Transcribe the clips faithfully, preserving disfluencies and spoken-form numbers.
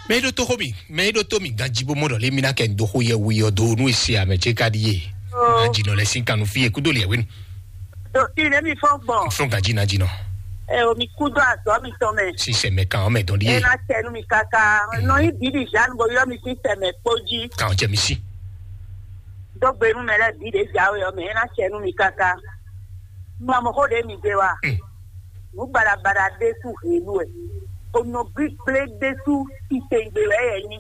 Mɛ e ɖó tó xó mi, mɛ e ɖó tó mi ganjí bó mɔ ɖɔ lé mi ná kɛ dó xó yɛ wu yɔ dó nú esi amɛ ce ka ɖi ye. Ó. Ganjí nɔ lɛ sín kanu fí yɛ kúdó lɛ wénu. Ɖo kí lé mi fɔ́n gbɔn. Fún ganjí ná jí nɔ. Ẹ o mi kú dó azɔ̌ mi tɔn mɛ. Sísɛ mɛ kan ɔmɛ dɔn Ẹ ɖíe. Ná tẹnu mi kaka. Nɔ yín bíbí Jeanne bo yɔ mi sí tẹmɛ kpó jí. Kan jẹ mi sí. Dó gbenu mɛ lɛ bí ɖě jáwé ɔ́ mɛ ẹ ná tẹnu mi kaka. Mamɔxó ɖě mi gbé wa. Mm. Nǔ baɖabaɖa ɖésú helu wɛ. Onɔ gbígblé ɖésú titewungbe wɛ yɛ nyi.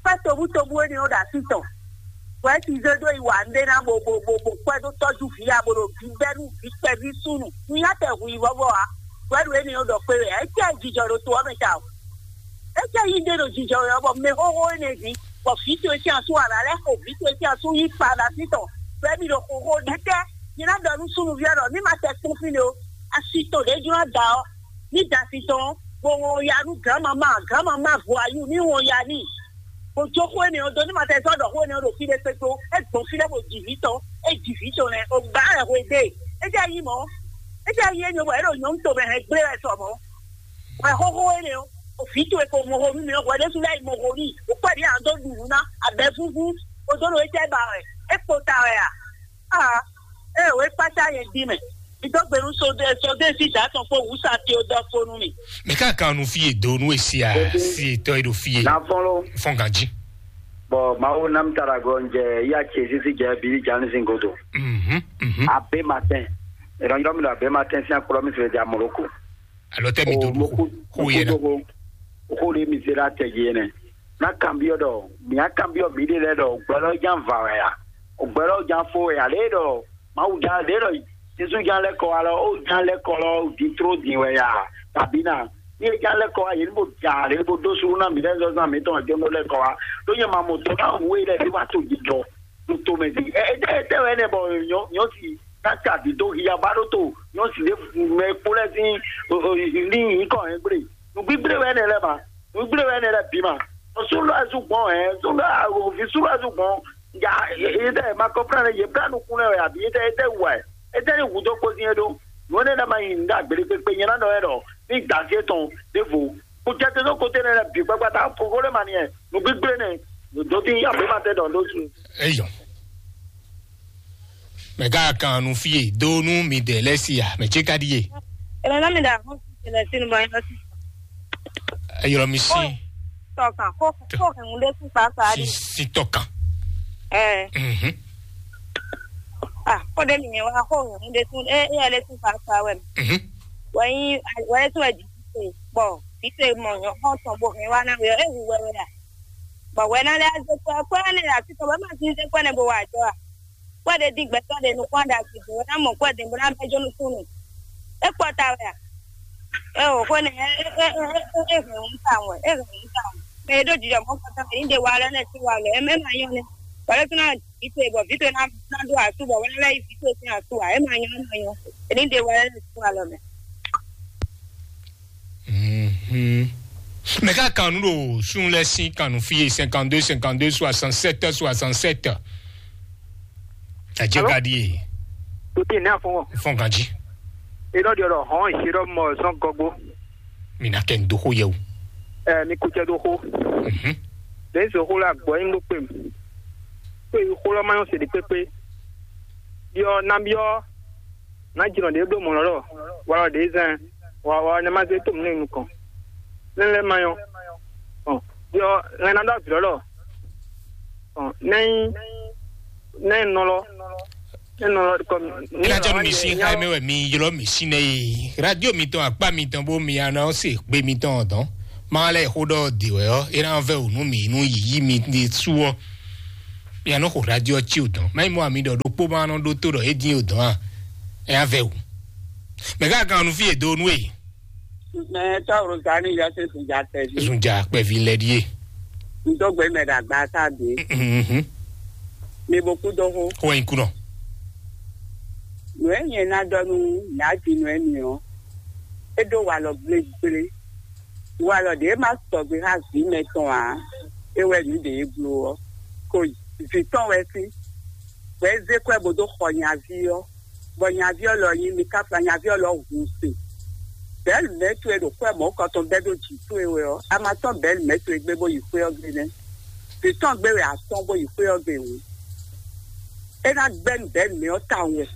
Kpɛ́ tobútobú énɛ́ ɔ́ ɖo así tɔn. Bɔ é ti zé dó yi wa nɖé ná bo bo bo bo kpɛ́ dó tɔ́jú vǐ ya bo ɖo vǐ bɛ́ nú vǐ kpɛví súnnu. Nǔnyá tɛ hu yi vɔ́vɔ́ ǎ. Bɔ é ɖo énɛ́ ɔ́ ɖɔ kpé wɛ ǎ. É cɛ jijɔ ɖo to ɔ́ mɛ ta o. É cɛ yi ɖé ɖo jijɔ wɛ ɔ́, bɔ mɛ xóxó énɛ́ ví, bɔ vǐ towe sín asú wǎ ná lɛ́ xo vǐ towe sín asú yí kpa ɖo así tɔn. Bɔ é mi ɖo xóxó ɖɛtɛ́. Mi ná ɖɔ nú súnnuví ɔ́ ɖɔ ní ma tɛ kpɔ́n fínɛ́ o. Asi tɔn ɖě jló ná da ɔ́, ní da asi tɔn ɔ́, bó wɔn ya nú gǎnmamá, gǎnmamá vɔayú ní wɔn ya n'i. Bó jó xó énɛ́ ɔ́ dó, ní ma tɛ zɔ́ ɖɔ xó énɛ́ ɔ́ ɖo fí ɖé kpékpé ó. É gbɔn fí ɖé bó ji vǐ tɔn, é ji vǐ tɔn nɛ́, o gbǎ wɛ hwe ɖe. É jɛ nyí mɔ̌, é jɛ nyí énɛ́ bɔ é ɖo nyɔ̌nu tomɛ hɛn gblé wɛ sɔ mɔ̌. Wɛ xóxó énɛ́ ɔ́, o vǐ towe ko mɔ xo nú mi ɔ́, hwɛ ɖésú lɛ́ yi mɔ xo n'i, o kpɛ́ ɖě a dó ɖu nǔ ná, abɛ vúvú, o dó ɖo étɛ́ ba wɛ, é kpo ta wɛ a? Aa, ée wě kpácá nyɛ dín mɛ. Mi dó gbe nú sodé sodé sí dǎ tɔn kpó wǔsatí ó dɔ fó nú mi. Mɛ ká kan nu fie do nú esi a si etɔ e ɖo fie. Na fɔn lo. Fɔn ganji. Bɔn mawu nam tara gɔ njɛ ya ce sisi jɛ bili jani sin godo. Mhm, mhm. Abe matin. Ìrànjọ́ mi lọ abe matin sí akọlọ mi sọ̀rọ̀ di amọ̀lókò. Alɔ tɛ mi do mo do kú xo yɛ na. Xo ɖe mi se ɖe atɛ dzi ene. Na kanbyɔ ɖɔ mia kanbyɔ mi ɖe lɛ ɖɔ gbɛlɔ jan va wɛ ya? Gbɛlɔ jan fo wɛ ya? Lɛ ɖɔ mawu jan lɛ ɖɔ jesu jan lɛ kɔ wa lɔ o jan lɛ kɔ lɔ di tro din wɛ ya? Tabi na ni e jan lɛ kɔ wa yeli bo da lɛ bo do suru na mi lɛ zɔzan mi tɔn jɔn lɛ kɔ wa. Ɖo nyɛ ma mo dɔ na wu e lɛ bi wa to jijɔ. Ntomɛ di ɛ ɛ ɛ wɛ nɛ bɔ nyɔ nyɔ si na ta di do hiya ba ɖo to nyɔ si de mɛ kpo lɛ sin li yi kɔ hɛn gble. Nugbigbile wɛ nɛ lɛ ma. Nugbigbile wɛ nɛ lɛ bi ma. Sulu azu gbɔn hɛn sulu avi sulu azu gbɔn. Ya ete ma kɔfra ne ye bla nukun ne wɛ abi ete ete wa ete ni wu do kpo sin e ɖo. Nɔ ne na ma yi nda gbele kpekpe nyɛ na nɔ yɛ dɔ ni da se tɔn de vo. Kutɛtɛ nɔ kote ne lɛ bi kpakpata fofo le ma ni yɛ. Nugbigbile ne. Dodi ya be ma tɛ dɔn do su. Eyɔ. Mɛ gã kan nu fie do nu mi de lɛ si ya mɛ tse ka di ye. Ele na mi da ho si le sinu ba ina si. Eyɔ mi si. Tɔkan ko ko hɛn de si pa sa si di. Si tɔkan. Eh. Mhm. Ah, ko de mi wa ko hɛn de si e e le si pa sa we. Mhm. Wa yi wa le si wa di. Bɔ vite mɔ nyɔ xɔ tɔn bo hɛn wa na we e hu we we ya. Bɔ wɛ na lɛ aze kɔ kɔ ne asi tɔ wɛ ma si se kɔ ne bo wa jɔ a. Kɔ de di gbɛtɔ de nukun da si do wɛ na mɔ kɔ de bo na bɛ jo nukun. E kpɔ ta wɛ a. E o ko ne e e e e e hɛn un ta wɛ e hɛn un ta wɛ. Mɛ e ɖo jijɔ mɔ kɔtɔ mɛ ni de wa lɛ ne si wa lɛ e mɛ ma nyɔ ne. Wɛ lɛ tuna vite bɔ vite na na do asu bɔ wɛ lɛ yi vite sin asu a e ma nyɔ e ma nyɔ. E ni de wa lɛ ne si wa lɔ mɛ. Mhm. Mɛ ka kan nu ɖo sun lɛ sin kan nu fi ye cinquante-deux cinquante-deux soixante-sept soixante-sept. Adze Alo? Gadi ye. Tòtí ní àfọwọ́. Fɔn ganji. Ìdọ́dí ọ̀rọ̀ hàn ìṣirọ́ mọ̀ sán gọgbó. Mi na kɛ n do xo yɛ o. Ẹ mi kú cɛ do xo. Mhm. Lè ń sọ xó la gbọ́ yín ló pè mí. Pé xó lọ́ máa ń ṣèlè pépé. Yọ nábíọ́. Ná jìnnà ɖě ɖó mɔ̌ lɔ́ wala ɖě zɛn wa wa ne ma zé tó mǐ nukɔn ne lɛ́ ma nyɔ́ ɔn yɔ ŋɛ ná ɖó avǐ lɔ́ lɔ ɔn nɛ́ nyí nɛ́ nɔ lɔ nɛ́ nɔ lɔ kɔ mi. Ena jɔ mi si ha mi wɛ mi ylɔ mi si nɛ ye radio mi tɔn akpa mi tɔn bo mi ana se gbe mi tɔn dɔn ma lɛ xo ɖɔ de wɛ ɔ ena vɛ o nu mi nu yiyi mi de su ɔ. Mia nɔ xo radio ɔ ci o dɔn mɛ mɔ ami ɖɔ ɖokpó ma nɔ ɖó tó ɖɔ é dín o dɔn a. Ɛ avɛ o. Mɛ ká kan nu fi e do nu e. Mɛ tɔwuro zani yɔ se sunja tɛ vi. Sunja kpɛvi lɛ ɖi e. Ntɔgbe mɛ ɖagba ta de. Mhm. Mi bo kú dɔho. Xɔ yin kunɔ. Nue nyɛ na dɔ nu nyaji nue mi o. E do walɔ gble gble. Walɔ ɖe ma sɔgbe ha vi mɛ tɔn a. E wɛ nu ɖe e blo ɔ. Ko vi tɔn wɛ si. Wɛ ze kɔɛ bo do xɔ nyavi ɔ. Bɔ nyavi ɔ lɔ yin mi ka fla nyavi ɔ lɔ hu se. Bɛ̌lu mɛ̌ towe ɖo xwé mɔ̌kɔtɔn bɛ́ ɖó jǐ towe wɛ ɔ́, a ma tɔ́n bɛ̌lu mɛ̌ towe gbé bó yi xwé ɔ́ gbe nɛ́. Vǐ tɔn gbé wɛ a tɔ́n bó yi xwé ɔ́ gbe hǔn, é ná gbɛ́ nú bɛ̌lu mɛ ɔ́ tawun wɛ,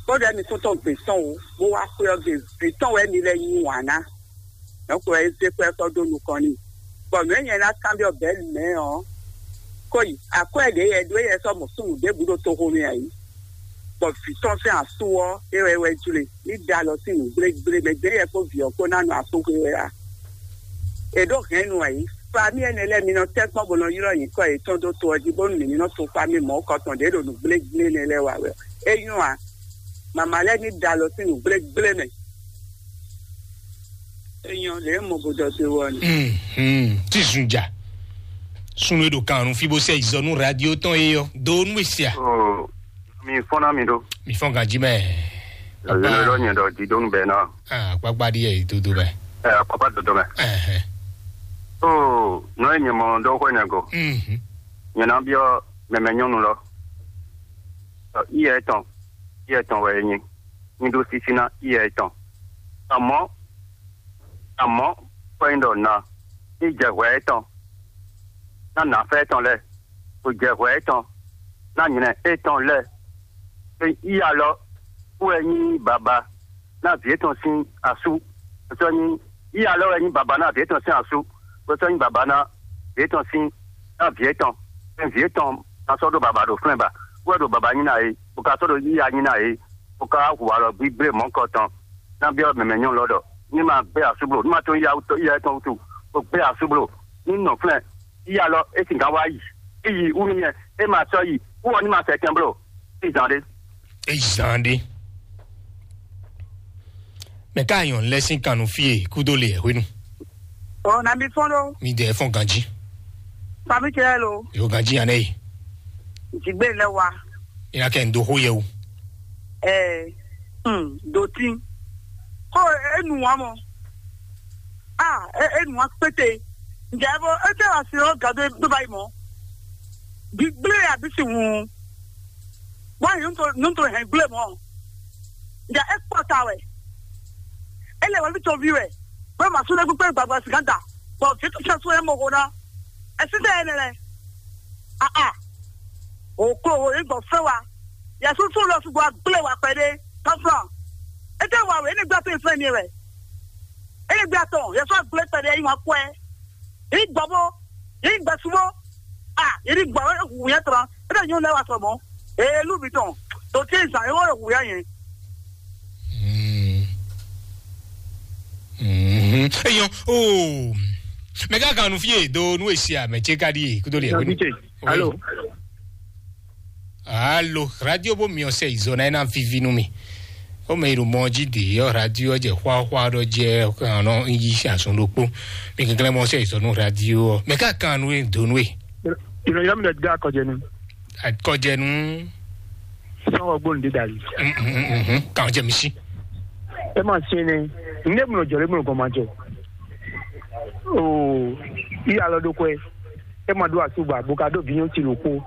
bó ɖɔ émí tɔn tɔn gbě tɔn o, bó wá xwé ɔ́ gbe. Vǐ tɔn wɛ émí lɛ́ yí wǎn ná. Nɔ̌ ko wɛ é zé xwé ɔ́ sɔ́ dó nukɔn n'i. Bɔ nǔ e nyɛ ná kanbyɔ́ bɛ̌lu mɛ ɔ́, ko yi akwɛ́ ɖě yɛ ɖó yɛ sɔ́ mɔ súnnu ɖěbǔ ɖo toxo mɛ ǎ yi. Bɔ vǐ tɔn sín asú ɔ́, é wɛ é wɛ jlé ní da alɔ sín nǔ gblégblé mɛ gbé yɛ kpó vǐ ɔ́ kpó ná nɔ asúxwe wɛ a? È ɖó hɛ̌nnu ǎ yi. Famí ɛnɛ lɛ́ɛ mi nɔ tɛ́ kpɔ́n bó nɔ ylɔ́ nyǐkɔ yětɔn dó to ɔ́ jí bónú mǐ ní nɔ tunwun famí mɔ̌ kɔtɔn ɖě ɖo nǔ gblégblé nɛ lɛ́ɛ wa wɛ. É nyɔ́ a? Mama lɛ́ɛ ní da alɔ sín nǔ gblégblé mɛ. É nyɔ́ lě e mɔ bó dɔ te wɔ ni. Mhm. Tí zun ja. Sunu e ɖo kan nu fi bó sɛ izɔ nú radio tɔn e yɔ do nú esia. Oh, mi fɔn na mi ɖo. Mi fɔn ganji mɛ. Azɛlɛ lɔ nyɛ ɖɔ didonu bɛ na. Ah, kpakpa ɖi yɛ dodo mɛ. Ɛ, kpakpa dodo mɛ. Ɛhɛn. Oh, nɔ e nyɛ mɔ dɔ xɔ nyɛ go. Mhm. Nyɛ na biɔ mɛmɛ nyɔnu lɔ. Ɔ, iyɛ etɔn, iyɛ etɔn wɛ e nyi. Nyi ɖó sísí ná iyɛ etɔn. Amɔ̌, amɔ̌, kpɔ́ nyi ɖɔ na, ní jɛ hwɛ etɔn ná nǎfɛ́ etɔn lɛ́ɛ, bó jɛ hwɛ etɔn ná nylɛ etɔn lɛ́ɛ. Iyalɔ wɛ nyí baba ná vǐ etɔn sín asú, bó sɔ́ nyí iyalɔ wɛ nyí baba ná vǐ etɔn sín asú, bó sɔ́ nyí baba ná vǐ etɔn sín ná vǐ etɔn. Vǐ etɔn ná sɔ́ ɖó baba ɖo flɛ́n ba, wɛ ɖo baba nyí ná é, bó ka sɔ́ ɖó iya nyí ná é, bó ka hu alɔ gbígbé mɔ̌kɔ tɔn. Ná byɔ́ mɛmɛ nyɔ́nu lɔ ɖɔ ní ma gbé asúblo, ní ma tó ya wútu, ya tɔn wútu, bó gbé asúblo ní nɔ flɛ́n. Iya lɔ é singán wá yi, é yi wú nyɛ, é ma sɔ́ yi wú ɔ ní ma sɛ kɛn bló. Izan ɖé. Izan ɖé. Mɛ ká nyɔn lɛ sín kannu fie kúdó le hwenu. Ɔ na mi fɔn ɖo. Mi dɛ fɔn ganji. Fami cɛ lo. Yo ganji anɛ yi. Jigbe lɛ wa. Ina kɛ ndo ho yɛ o. Ɛɛ, hmm, do tin. Ko enu wa mɔ. Ah, e enu wa kpete. Njɛ bo e tɛ wa si o gado do ba yi mɔ. Bi gble ya bi si hun. Wa yun to nun to hɛn gble mɔ. Njɛ e kpɔ ta wɛ. E lɛ wɛ bi to vi wɛ. Bó ma súnlé kpékpé gbàgbà sìgá da. Bɔ fi tó sɛ sún ɛ mɔ ko ná. Ɛ sí tɛ ɛ nɛ lɛ. Aa. O klo o yé gbɔ fɛ wa. Yɛ súnsún lɔ sugbɔ agblé wa kpɛɖé. Tɔflɔn. E tɛ wa wɛ, e ne gbé atɔ yi fɛn ni wɛ. E ne gbé atɔ, yɛ sɔ agblé kpɛɖé yi wa kɔɛ. Yi gbɔ bó. Yi gbɛ sugbɔ. Ah, yi ni gbɔ, e hu yɛ tɔn. E tɛ nyɔnu lɛ wa sɔ mɔ. Ee, lu mi tɔn. To ti zan, e wo hu yɛ yɛn. Eyɔn o, mɛ ká kan nu fie do nu esi a mɛ tse ka di kudo le. Nabite. Alo. Alo, radio bo mi ɔsɛ izɔ na ena vivi nu mi. O mɛ iru mɔ ji de yɔ radio jɛ xwa xwa dɔ jɛ kan nɔ yi asun ɖokpo. Mi kankan mɔ ɔsɛ izɔ nu radio mɛ ká kan nu e do nu e. Ìròyìn mi dẹ̀ gbé akọ̀jẹ̀ ni. Akɔjɛnu. Sɔn ɔgbɔn de dali. Kàn jẹ mi si. E ma se ne, ne mlɔ jɔ le mlɔ gɔn ma jɔ. Oo, iya lɔ do kɔɛ. E ma do asuba bo ka do vinyɔn ti lo kpo.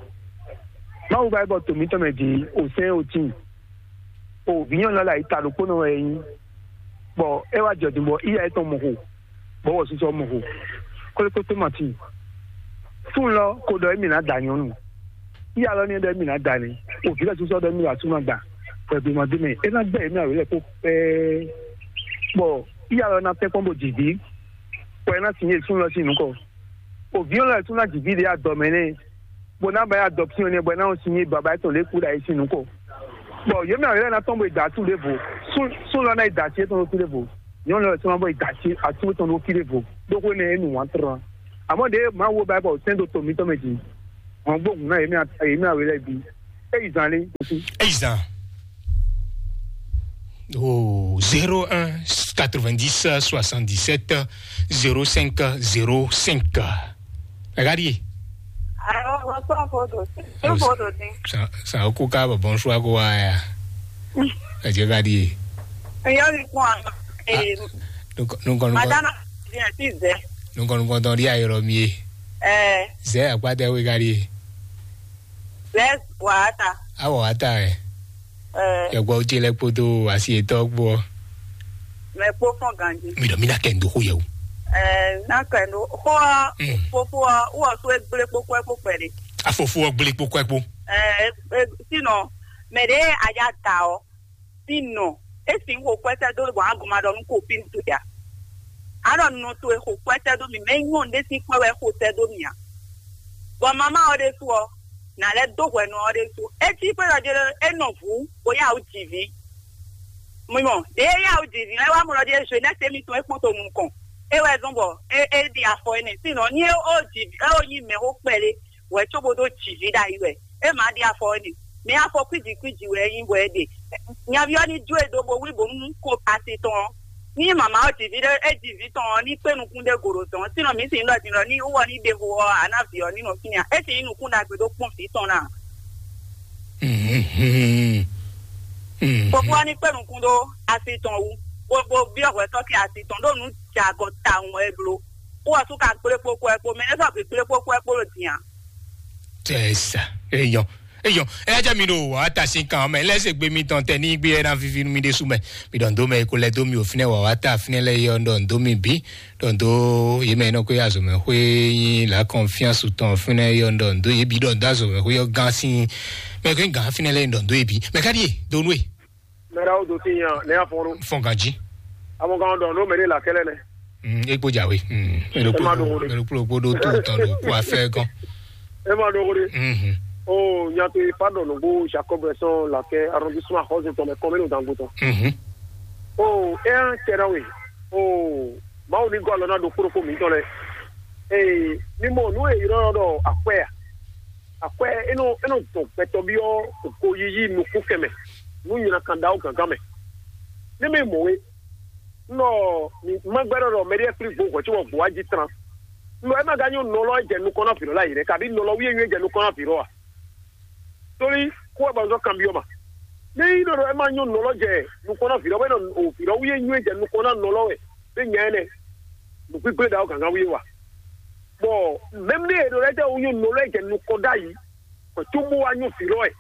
Mawu ba e bɔ tomi tɔmɛ di o sɛn o tin. O vinyɔn lɔ la yi ta ɖokpónɔ wɛ e nyí. Bɔ e wá jɔ din bɔ iya etɔn mɔ xo. Bɔ wɔ susɔ mɔ xo. Kɔlɛkɔtɔ ma tin. Fún lɔ ko ɖɔ emi na da nyɔnu. Iya lɔ ni ɖɔ emi na da ni. O vi lɛ susɔ ɖɔ emi wa suma gba. Bɔ ebi ma dé mɛ. E na gbɛ emi awelɛ ko pɛɛ. Bɔ iya lɔ na tɛ kpɔn bo dzi vi. Bɔ e na sin ye sun lɔ sin nukɔ. O vi lɔ sun na dzi vi de adɔ mɛ nɛ. Bɔ na ba ya adoption nɛ bɔ na o sin ye baba etɔn le ku da ye sin nukɔ. Bɔ yě mɛ awě lɛ́ɛ ná tɔn bɔ è da asú ɖěvo. Sú lɔ ná yi da así étɔn ɖó fí ɖěvo. Nyɔ̌nu lɛ́ɛ sɔ́ ná bɔ è da así asú étɔn ɖó fí ɖěvo. Ɖó xwé nɛ é nu wǎn tlɔ́n. Àmọ́ ɖěe Mawu bá bɔ sɛ́n ɖo to mǐtɔn mɛ din. Hɔn gbóhùn ná yě mɛ awě lɛ́ɛ bí. É yi zan lé. Eyi zan. Oh, zéro un quatre-vingt-dix soixante-dix-sept zéro cinq zéro cinq. Regarde. Ayiwa, wọ́n sọ fódò. Ṣé fódò ni? Sa sa o kó ká bọ̀ bọ́n ṣúwá kó wá ya. Ẹ jẹ́ ká di. Ìyá mi kún àná. Nukọ nukọ nukọ. Madana, ìyá ti zẹ. Nukọ nukọ tán di ayọ̀rọ̀ mi ye. Ẹ. Zẹ àpáta wé ká di. Zẹ wàá ta. Awọ wàá ta ẹ. Ẹ. Yọgbọ ojú ilẹ̀ kpoto àti ètò ọgbọ. Mɛ kpó fɔ́n ganjí. Mi ɖɔ mi ná kɛ ndo xó yɛ o. Ɛɛ, ná kɛ ndo xó ɔ, Mm. Fofo ɔ, wɔ so e gblé kpó kpó kpó kpɛɖé. Afofo ɔ gblé kpó kpó kpó. Ɛɛ, e, e, sinɔ, mɛ ɖé a ya da ɔ, sinɔ, e sin xo kwɛtɛ dó bɔ a gɔma ɖɔ nu ko fi nu to ya. A ɖɔ nɔ to e xo kwɛtɛ dó mi, mɛ nyɔ ɖé sin kwɛ wɛ xo tɛ dó mi a. Bɔ mama ɔ ɖésú ɔ, nǎ lɛ́ dó hwɛ nɔ ɔ́ ɖésú. É cí xwé ɖɔ jɛ é nɔ vǔ, bó yá wǔ jǐ vǐ. Mi mɔ, ɖě é yá wǔ jǐ vǐ lɛ́ɛ wá mɔ ɖɔ jɛ Zenɛ́si émítɔn é kpɔ́n to nukɔn. É wɛ zɔ́n bɔ é é ɖi afɔ énɛ́. Sinɔ ní é ó jǐ é ó nyí mɛxó kpɛɖé, wɛ cóbó dó jǐ vǐ ɖ'ayǐ wɛ. É mǎ ɖi afɔ énɛ́. Mɛ afɔ kwíji kwíji wɛ é nyí bɔ é ɖe. Nyaví ɔ́ ní jó e dó bó wlí bǒ nú ko asi tɔn ɔ́. Ní mama ɔ́ ji vǐ ɖé, é ji vǐ tɔn ɔ́, ní kpé nukún ɖé go ɖo dɔ̌n. Sínɔ mǐ sin ɖɔ din ɖɔ ní wú ɔ́ ní ɖe xo ɔ́, a ná vǐ ɔ́ ní nɔ fínɛ́ ǎ. É sin nyí nukún ɖagbe ɖó kpɔ́n vǐ tɔn ná. Mhm. Mhm. Fofó ɔ́ ní kpé nukún ɖó asi tɔn wú, bó bó byɔ́ hwɛ̌tɔ́ kɛ asi tɔn ɖó nǔ jɛ agɔ tawun wɛ é bló. Wú ɔ́ sú ka gblé kpó kɔ ɛ kpó, mɛ nɛ́ sɔ́ gbe gblé kpó kɔ ɛ kpó ɖo din ǎ. Tɛ sa, eyɔn, eyɔn. Ɛ jẹ́ mi ɖo wàá ta sín kan mɛ lɛ́ se gbé mi tɔn tɛ ní gbé ɛ ná vivi nú mi ɖésú mɛ. Mi ɖɔn dó mɛ ko lɛ dó mi ò fínɛ wàá ta fínɛ lɛ yɔ ɖɔn dó mi bí. Ɖɔn dó yé mɛ nɔ kó yá zɔmɛ xwé yín la kɔnfiansu tɔn fínɛ yɔ ɖɔn dó yé bí ɖɔn dó azɔmɛ xwé yɔ gán sín. Mɛ kó gán fínɛ lɛ ɖɔn dó yé bí. Mɛ ká ɖíe dó nú e. Mɛra o do ti yan ne afɔnu. Fɔn ganji. Amɔ kan dɔn no mɛ de la kɛlɛ nɛ. Mm, e kpo jawe. Mm. Mɛ ɖo Ema ɖo wo ɖe. Mɛ ɖo kpo ɖo to tɔn ɖo kó afɛ kɔn. Ema ɖo wo ɖe. Mhm. O nyato ifa dɔn no bo Jacob sɔn la kɛ arrondissement xɔse tɔn mɛ kɔmɛ no dango tɔn. Mhm. O e an tɛ na we. O mawu ni gɔ alɔ na do kporo ko mi tɔn lɛ. Ee, mi mɔ nu e yɔrɔ dɔ akwɛ a? Akwɛ enɔ enɔ dɔn gbɛtɔ́ byɔ́ goyiyi nukún kɛmɛ nú nyina kan ɖawo gǎngán mɛ. Ní mi mɔ we, nɔ ma gbɛdɔ dɔ mɛɖiɛ kpli gbo hwɛ cóbɔ gbowá jí tran. Nɔ ɛ ma gán nyɔ nɔlɔ e jɛ nukɔn ná vǐ lɔ la yi rɛ, kabi nɔlɔ wíyé nyɔ e jɛ nukɔn ná vǐ lɔ a? Tóli kó wɛ ba zɔ kan byɔ́ ma. Ní yi nɔ dɔ ɛ ma nyɔ nɔlɔ jɛ nukɔn ná vǐ lɔ, bɛ nɔ o vǐ lɔ wíyé nyɔ e jɛ nukɔn ná nɔlɔ wɛ, bɛ nya ɛnɛ nukpíkplé ɖawo gǎngán wíyé wa. Bɔ mɛmlɛ e ɖo lɛ jɛ wo nyɔ nɔlɔ e jɛ nukɔn ɖ'ayǐ, kɔ tó bó wá nyɔ vǐ lɔ wɛ.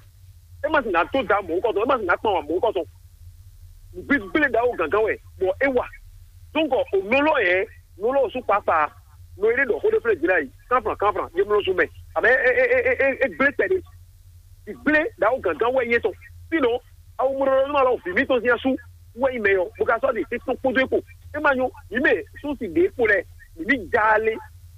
É ma sì ná tó da mɔ̌hunkɔtɔn, é ma sì ná kpan wà mɔ̌hunkɔtɔn. Gbígbélé ɖawo gǎngán wɛ, bɔ é wa. Dɔnkɔ, o nɔlɔ yɛ, nɔlɔ sú kpakpa, nɔ yɛ ɖɔ xó ɖé flé jìnnà yi, kánfran kánfran, yé mlɔ sú mɛ. Abɛ é é é é é gblé kpɛɖé. Gblé ɖawo gǎngán wɛ nyɛ tɔn. Sinɔ, awu mɔɖɔɖɔ nú alɔ vǐ mítɔn sín asú wɛ nyí mɛ ɔ́, bó ka sɔ́ ɖe tɛ́nkpɔ́n kpódó é kpo. É ma nyɔ́, mǐ mɛ súnsi ɖě kpo lɛ́ɛ, mǐ ní já alé,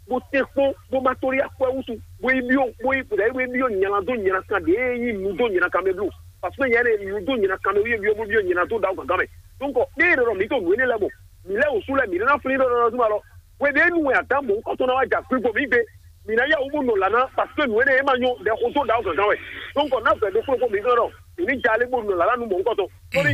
bó tɛ́nkpɔ́n, bó má tóli akwɛ́ wútu, bó yi byɔ́, bó yi bó yi byɔ́ nyala dó nyala kan ɖě nyí nu dó nyala kan mɛ bló. Parce que nyɛ lɛ́ɛ nu dó nyala kan mɛ wú yé byɔ́ bó byɔ́ nyala dó ɖawo gǎngán mɛ. Donc, ní è ɖɔ mǐ to nǔ énɛ́ lɛ́ɛ mɔ, mǐ lɛ́ wǔ sú lɛ́ɛ mǐ ɖó ná flín ɖɔ ɖɔ súnmọ́ alɔ. Hweběnu wɛ Adǎmu mɔ̌hunkɔtɔn ná wá jɛ akwígbo mǐ gbe. Mǐ ná yá wǔ bó nɔ lǎ ná, parce que nǔ énɛ́ e ma nyɔ́ ɖɛ xó dó ɖǎ gǎngán wɛ. Donc ná vɛ̌ ɖokpó ɖokpó mǐ gán ɖɔ mǐ ní ja lé bó nɔ lǎ ná nú mɔ̌hunkɔtɔn. Tóli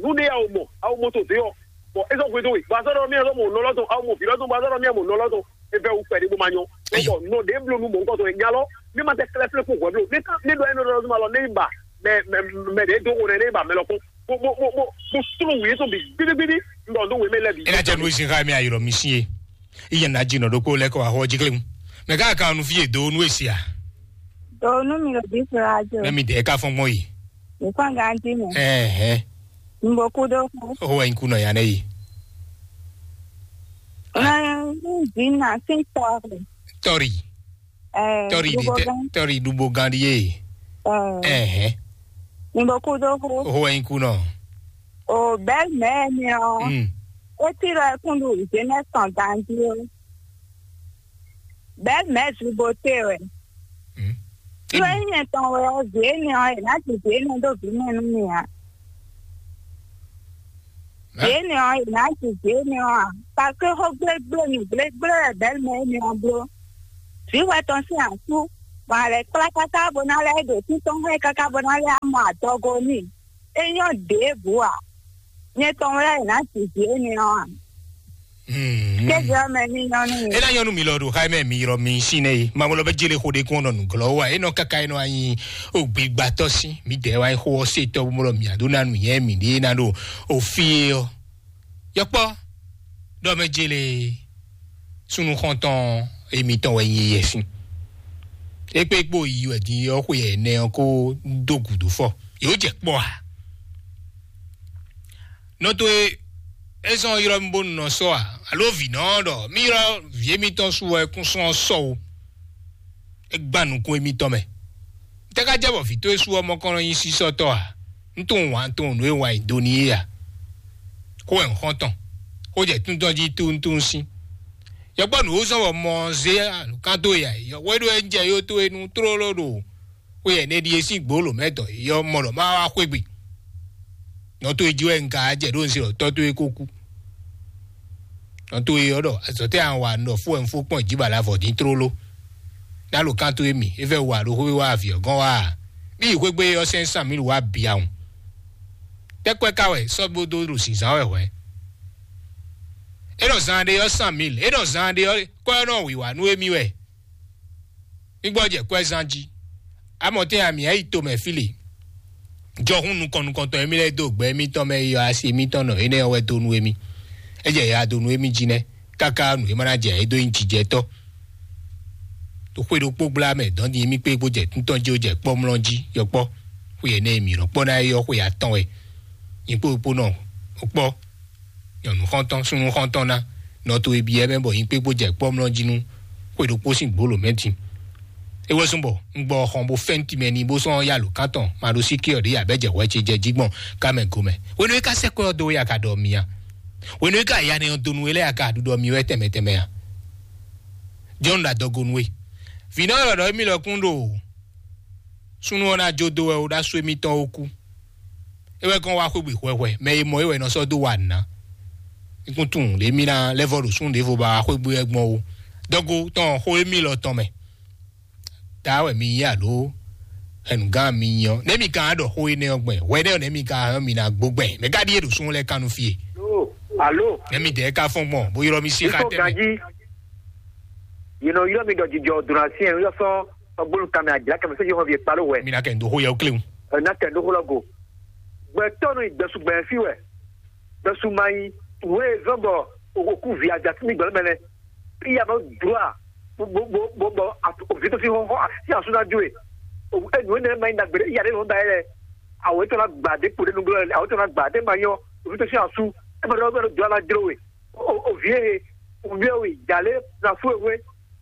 nǔ ɖé ya wò mɔ, a wò mɔ to dě ɔ́, bɔ é sɔ́ hwedó we, bɔ a sɔ́ ɖɔ mì a sɔ́ mɔ nɔlɔ́ tɔn, a wò mɔ vǐ lɔ́ tɔn, bɔ a sɔ́ ɖɔ mì a mɔ nɔlɔ́ tɔn, é vɛ́ wú kpɛɖé bó ma nyɔ́. Bɔ nɔ ɖě bló nú mɔ̌hunkɔtɔn e nya lɔ, ní ma tɛ klɛ́ flé kpó hwɛ bló, ní ká ní ɖɔ énɛ́ ɖɔ ɔ́ ma lɔ, ní yi ba mɛ mɛ mɛ ɖě dó xo nɛ, ní yi ba mɛ lɔkún, bó bó bó bó bó slú wǔ yětɔn bǐ gbígbígbí, un ɖɔ nú wě mɛ lɛ́ɛ bǐ. É ná jɛ nú é sin xá mì ayǐ lɔ mi sín é. Iye na dzi nɔ ɖokpó lɛ kɔ axɔ jí kléwu. Mɛ ká kan nu fie do nu esia. Do nu mi lo bi fura jo. Mɛ mi de ka fɔn gbɔn yi. Mi kwan ganti mi. Eh eh. Mbo kudo ku. O wa inku no ya ne yi. Na zina sin tɔri. Tori. Eh. Tori di te, tori dubo gandi ye. Eh. Eh eh. Mbo kudo ku. O wa inku no. O belle mère mi o. Mm. O ti ro kundu jeunesse en danger. Belle mère Zubote wɛ. Hmm. Nú é nyɛ tɔn wɛ ɔ́, vǐ énɛ́ ɔ́, è nǎ ji vǐ énɛ́ ɖó vǐ mɛ nú mì ǎ. Vǐ énɛ́ ɔ́, è nǎ ji vǐ énɛ́ ɔ́ ǎ. Parce que xó gblégblé nǔ gblégblé wɛ bɛ̌ mɛ énɛ́ ɔ́ bló. Vǐ wɛ tɔn sín asú, bɔ a lɛ̌ kplá káká bó ná lɛ́ ɖo títɔn xá ɛ káká bó ná lɛ́ mɔ adɔgo n'i. É nyɔ́ ɖěbǔ ǎ. Nyɛ tɔn wɛ è nǎ ji vǐ énɛ́ ɔ́ ǎ. Kéde ɔ́ mɛ ní nyɔ́ nú mi. Ena nyɔnu mi lɔ ɖo xa mɛ mi yrɔ mi sin nɛ ye. Mamɔ lɔ bɛ jele xo de kún ɔnɔ nuglɔ wa. Enɔ kaka enɔ anyi o gbigbatɔ si. Mi dɛ wa xo ɔ se tɔ mo lɔ mi ado na nu yɛ mi de na ɖo o fi ye ɔ. Yɔkpɔ dɔ mɛ jele sunu xɔntɔn emi tɔn wɛ nyi yɛ sin. Ekpe kpo yi wɛ di yɔ xwe yɛ nɛ ɔ ko do gudu fɔ. Yo jɛ kpɔ a. Nɔ to e É zɔ́n ylɔ́ mì bónú nɔ sɔ́ a? Alo vǐ nɔ ɔ́ ɖɔ mì ylɔ́ vǐ émítɔn su wɛ kún sɔ́ ɔ́ sɔ́ ó? É gbán nukún émítɔn mɛ. Tɛ́ ká jɛ bɔ vǐ towe su ɔ́ mɔ kɔn nɔ nyí sísɔ́tɔ́ a? Un tunwun wǎn tunwun nǔ e wǎn nyi do n'i é a? Xó wɛ un xɔ́n tɔn. Xó jɛ tún tɔn jí túntún sín. Yɔkpɔ́ nǔ ó zɔ́n bɔ mɔ ɔ́ zé alǔkán towe a? Yɔkpɔ́ é ɖó wɛ un jɛ yó towe nu tlóló ɖo xwe ɛnɛ ɖíe sín gbǒlǒ mɛ dɔ̌ yɔ́ mɔ ɖɔ má wá xwé gbe. Nɔ towe jí wɛ un ka jɛ ɖó un se ɖɔ tɔ́ towe ko kú. Nɔ towe ɔ́ ɖɔ azɔ̌ tɛ́ a wa un ɖɔ fó wɛ un fó kpɔ́n jǐ ba la vɔ dín tlóló. Ná lo kán towe mi é fɛ wa ɖo xwé wá avǐ ɔ́ gɔ́n wá a? Bí yi xwégbé ɔ́ sɛ́n sán mǐ wá bia wun. Tɛ́ kwɛ́ ka wɛ sɔ́ bó dó ɖo zǐnzán wɛ hwɛ̌? É nɔ zán ɖé ɔ́ sán mǐ lě, é nɔ zán ɖé ɔ́ kɔ́ ɔ́ nɔ wǐwá nú émí wɛ. Mí gbɔ́ jɛ kwɛ́zán jí. Amɔ̌tɛn ami ǎ yi tomɛ fí le. Jɔhún nukɔn nukɔntɔn émí lɛ́ɛ dó gbɛ émítɔn mɛ yi ɔ́, asi émítɔn nɔ énɛ́ ɔ́ wɛ dó nú émí. É jɛ ya dó nú émí jí nɛ́, káká nǔ e ma ná jɛ é dó nyí jijɛtɔ́. Ɖo xwé ɖokpó gbla mɛ dɔn din émí kpé bó jɛ tún tɔn jí, ó jɛ kpɔ́mlɔ́ jí yɔkpɔ́. Xwe ɛnɛ e mǐ nɔ kpɔ́ ná é ɔ́, xwe atɔn wɛ. Nyǐkpó ɖokpó nɔ kpɔ́. Nyɔ̌nu xɔ́ntɔn, súnnu xɔ́ntɔn ná nɔ towe byɔ́ mɛ bɔ nyí kpékpó jɛ kpɔ́mlɔ́ jí nú xwe ɖokpó sín gbǒlǒ mɛ din. É wɛ zɔ́n bɔ un gbɔ xɔn bó fɛ́n timɛ n'i bó sɔ́ yá lǒ kántɔn ma ɖó sí ké ɔ́ ɖě abɛ́ jɛ hwɛ ce jɛ jí gbɔn ká mɛ go mɛ. Hwenu e ka sɛ́ kwɛ́ ɔ́ dó wɛ a ka ɖɔ mì a? Hwenu e ka ya nɛ ɔ́ donu we lɛ́ɛ a ka ɖuɖɔ mì wɛ tɛnmɛ tɛnmɛ a? Jɔn ɖo adɔgo nú we. Vǐ nɔ ɖɔ ɖɔ émí lɔ kún ɖo súnnu ɔ́ ná jó dó wɛ ó ɖó asú émítɔn ó kú. É wɛ kɔn wá xwégbè hwɛhwɛ, mɛ e mɔ é wɛ è nɔ sɔ́ dó wa nǔ ná. Nukún tunwun ɖě mì ná lɛ́ vɔ ɖo súnnu ɖěvo ba wá xwégbè wɛ gbɔn ó. Dɔgo tɔn xó émí lɔ tɔn mɛ. Ta wɛ mi yí alo hɛnugán mi nyɔ. Nɛ́ mi ka ɖɔ xó énɛ́ ɔ́ gbɛn, hwɛ nɛ́ ɔ́ nɛ́ mi ka hɛn mi ná gbó gbɛn. Mɛ ka ɖíe ɖo súnnu lɛ́ɛ kan nú fí e. Alo, alo. Nɛ́ mi dɛɛ ka fɔ́n gbɔn, bó ylɔ́ mi sí xá tɛ́ mɛ. Yìí nɔ ylɔ́ mi ɖɔ jijɔ dùn asi ẹ̀ ń yɔ sɔ́ ɔgbónú kanmɛ àjìlá kɛmɛ sɛ́ yóò hàn fi kpalo wɛ. Mi ná kɛ ndo xó yɛ kléwu. Ɛ ná kɛ ndo xó lɔ go. Gbɛtɔ́ nɔ yi gbɛsu gbɛ fi wɛ. Gbɛsu ma yi wé zɔn bɔ òkú vi àjà sí mi gbɛlɛ mɛ lɛ. Iya nɔ dua bo bo bo bo bo òvi tó sí hɔhɔ sí àsú ná jó e. Enu énɛ́ ma yi ná gbèdé iya ɖé nɔ da yɛ lɛ. Àwọ̀ ètò ná gbà dé kpo dé nugbó lɛ, àwọ̀ ètò ná gbà dé ma yɔ òvi tó sí àsú. Ẹ ma dɔ bɛ dɔ ala jlo we. O o vie he, o vie we, jale na fue we.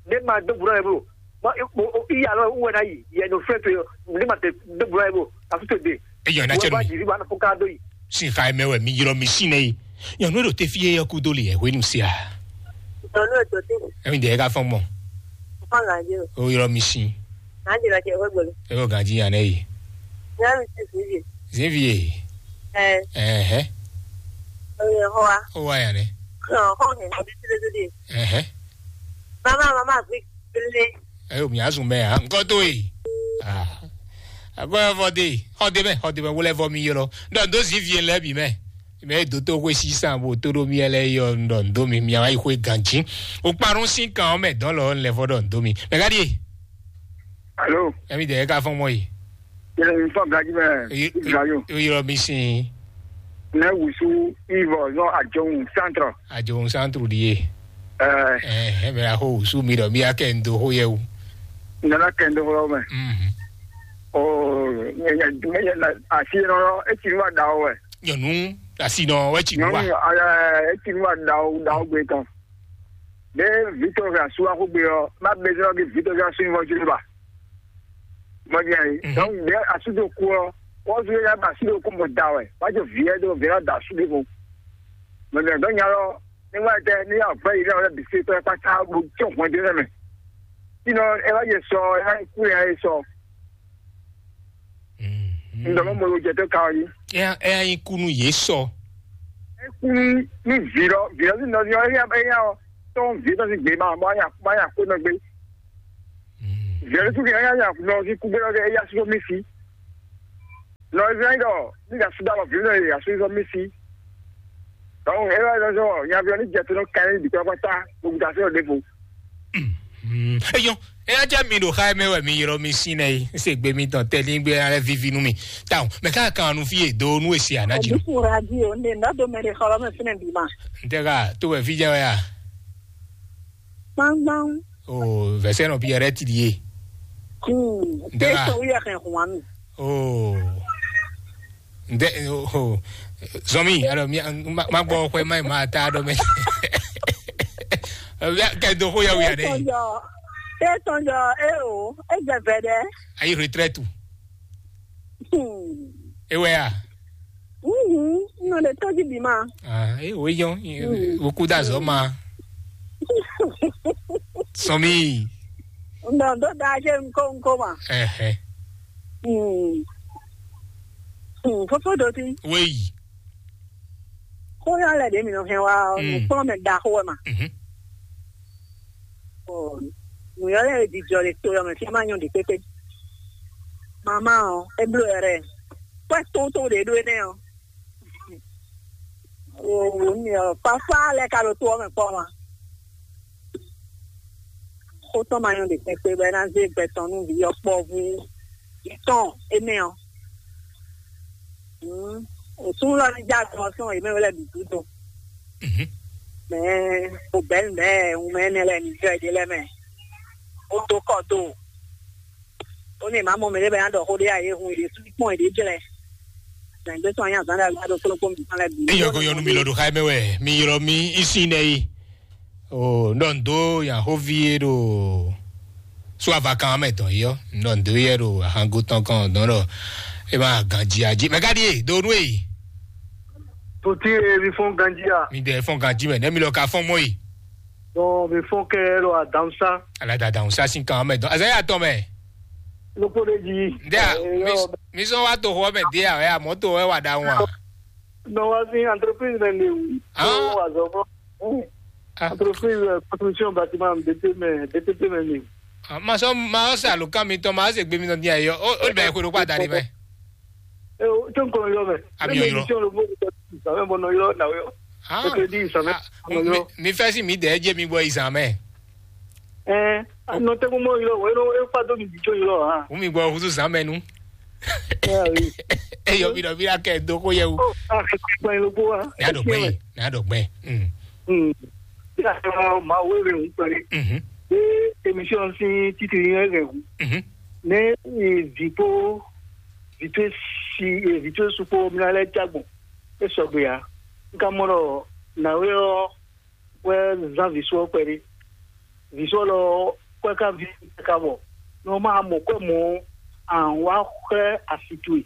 Ne ma do buna ebo. Ma o o iya lo uwe na yi, ye no fue to yo. Ne ma te do buna ebo. Na fue to de. Eyɔ na cɛ ba numi. Jiri ba na fuka do yi. Sin xa mɛ wɛ mi ylɔ mi sin nɛ yi. Nyɔnu ɖo te fi ye yɔ kudo li yɛ hwenu sia. Nyɔnu ɖo te. Emi de ka fɔn mɔ. Fɔn la je. O ylɔ mi sin. Na je la je hwe gbolo. E o ganji yan nɛ yi. Ya mi si fi je. Zin fi ye. Eh. Eh. Eh. O ye ho wa. O wa yan nɛ. Ho ho he na bi tire de. Eh. Mama mama vi le. Ayo mi azun mɛ a nkɔ to yi. Ah. Akɔ ya fɔ de. Xɔ de mɛ, xɔ de mɛ wo lɛ vɔ mi ylɔ. Dɔ do zi vie lɛ bi mɛ. Mɛ do to xwe si san bo to ɖo mi lɛ yɔ dɔ do mi mi ayi xwe ganji. O kparun sin kan mɛ dɔn lɔ lɛ vɔ dɔ do mi. Mɛ ka di. Alo. Emi de ka fɔn mɔ yi. Yɛlɛ mi fɔ gaji mɛ. Gajo. O yɔ mi sin. Ne wusu ivɔ zɔ ajohun centre. Ajohun centre ɖi ye. Ɛɛ. Ɛɛ, ɛmɛ axɔ wusu mi ɖɔ mi akɛ ŋdo xo yɛ wu. Nana kɛ ŋdo xo mɛ. Mhm. Oo, asi nɔ eti nu wa da o wɛ. Nyɔnu asi nɔ wɛ ti nu wa. Nyɔnu eti nu wa da o da o gbe tɔn. Ɖe Victor hɛ asu axogbe ɔ, ma bezɔn ke Victor hɛ asu nyɔ jlo ba. Mɔdé ayi. Mhm. Donc ɖe asu do ku ɔ, wɔ zu ya ba asu do ku mɔ da wɛ. Wa jo viɛ do viɛ da asu de ko. Mɔdé dɔ nya lɔ, ni wa tɛ ni ya vɛ yi na wɛ bi se tɔ kpata bo tsɔ hɔn de nɛ mɛ. Sinɔ ɛ wa yɛ sɔ, ɛ wa ku ya yɛ sɔ. Ŋdɔ mɔ mo jɛ tó ka ɔ yi. Ɛ ɛ yin kunu yé sɔ. Ekun ní vǐ lɔ, vǐ lɔ sí nɔ ní ɔ́, éyá éyá ɔ tɔn vǐ tɔn sín gbě ma bɔ anya bɔ anya kó nɔ gbé. Vǐ lɔ sí kí anya nɔ sí kú gbé lɔ kɛ éyá sí mí sí. Nɔ Israɛli ɖɔ ní ɖa sí ɖalɔ vǐ lɔ yě asú sɔ mí sí. Donc é wá lɔ sɔ nyaví ɔ ní jɛ tó nɔ kan ní bǐ tɔn kpátá gbogbo ta sí ɔ ɖěvo. Eyɔn, eya jẹ́ mi ɖo xa mɛ wɛ mi yrɔ mi sín nɛ yi. Ese gbe mi tɔn tɛ ní gbé alẹ́ vivi nú mi. Táwọn mɛ ká kan nu fi yé do nú èsì ànájì nù. Ẹ̀dínkù radio ní ìdádó mẹ́rin xɔlọ́ mi fínẹ̀ bí ma. N tẹ́ ká tó wẹ̀ fi jẹ́ wẹ́ à. Gbangban. O vɛsẹ́ nɔ Pierre ti di ye. Hmm. N tẹ́ ká. Èso wíyà kẹ́ hùn wá mi. O. Nde o, zɔmi, alors mi ma gbɔ xwe ma ma ta do me. Kɛ do xo ya wi ade. Etɔnjɔ, etɔnjɔ, e o, e jɛ vɛ dɛ. Ayi retraite. Hmm. E wɛ a? Mhm, no de tɔji bi ma. Ah, e o yon, o ku da zɔ ma. Sɔmi. No do da je nko nko ma. Eh eh. Hmm. Hmm, fofo do ti. Oui. Xó yɔ lɛ ɖě mi nɔ hɛn wá ɔ́, nǔkplɔ́nmɛ ɖaxó wɛ ma. Mhm. Nǔyɔ́ lɛ́ɛ jijɔ le to ɔ́ mɛ fí ma nyɔ ɖě kpékpé. Mama ɔ́, é bló yɔ ɖɛ. Kwɛ́ tótó ɖě ɖó énɛ́ ɔ́. Wo wo mi ɔ́, papa lɛ́ɛ ka ɖo to ɔ́ mɛ kpɔ́ ma. Xó tɔn ma nyɔ ɖě kpɛkpɛ bɔ é ná zé gbɛ tɔn nú vǐ ɔ́ kpɔ́vú tɔn énɛ́ ɔ́. Òsúnú lɔ ní já gbɔn sɔn yě mɛ wɛ lɛ bǐ gúdo. Mɛ o bɛ̌ nǔ lɛ́ɛ wun mɛ énɛ́ lɛ́ɛ ní jɔ yěɖée lɛ́ɛ mɛ. Ó dó kɔ do. Ó ní è má mɔ mɛ ɖé bɔ é ná ɖɔ xó ɖé ǎ, yě hun yě sú kpɔ́n yěɖée jlɛ́. Zɛ̌ngbé tɔn nyí azǎn ɖagbe ɖo kplɔ́nkpɔ́n mǐtɔn lɛ́ɛ bǐ. Eyɔ ko yɔnu mi lɔ ɖo xa mɛ wɛ mi ylɔ mi isin nɛ yi. O ndɔ ndo yan xóvi e ɖo so avakan mɛ dɔn yi ɔ ndɔ ndo yɛ ɖo ahango tɔn kɔn dɔn ɖɔ e ma ganji aji mɛ ka ɖi e do nu e yi. Tòtí e mi fɔn ganji a? Mi dɛ fɔn ganji mɛ ne mi lɔ ka fɔn mɔ yi. Dɔn mi fɔn kɛ lɔ adansa. Ala da adansa sin kan mɛ dɔn azaya tɔn mɛ. Lókpó ɖé jí. Ndé a mi sɔn wa to xɔ mɛ dé a wɛ a mɔ to wɛ wa da wọn a. Nɔ wá sí entreprise mɛ ni o. Ah. Nɔ wá zɔ fún. Ah. Entreprise, euh, construction bâtiment, B T M, B T P mɛ ni. Ah, ma sɔn ma sɔn sa lo kan mi tɔn ma se gbe mi tɔn di ayɔ o o bɛ ko do kpa da di mɛ. E o tó nkɔlɔ yɔ mɛ. Ami yɔ yɔ. Sàmɛ bɔ nɔ yɔ na yɔ. Ah. Ètò ìdí ìsàmɛ. Ah, nɔ yɔ. Mi fẹ́ sí mi dẹ̀ jẹ́ mi bɔ ìsàmɛ. Ɛ nɔ tɛ mo mɔ yɔ wɛ nɔ e fa do mi di tso yɔ ha. Wumi gbɔ husu zan mɛ nu. Ɛ wi. Eyɔ bi dɔ bi la kɛ do ko yɛ wu. Ɔ a kɛ kpa yɛ lóko wa. N'a dɔ gbɛ, n'a dɔ gbɛ. Hmm. Bí a sọ ma wo ewé ń pẹ̀lú. Mhm. Bí emission sí títí yẹn rẹ̀ wù. Mhm. Ní ìdìbò vìtú sí vìtú sukpo mi lɛ jágbọn. E sɔgbe ya. N ka mɔ ɖɔ nàwé ɔ wɛ zán vǐ sɔ kpɛɖé. Vǐ sɔ lɔ kɔ́ ká ví ká bɔ nɔ ma mɔ kɔ́ mɔ àwọn wá xlɛ́ asi towe.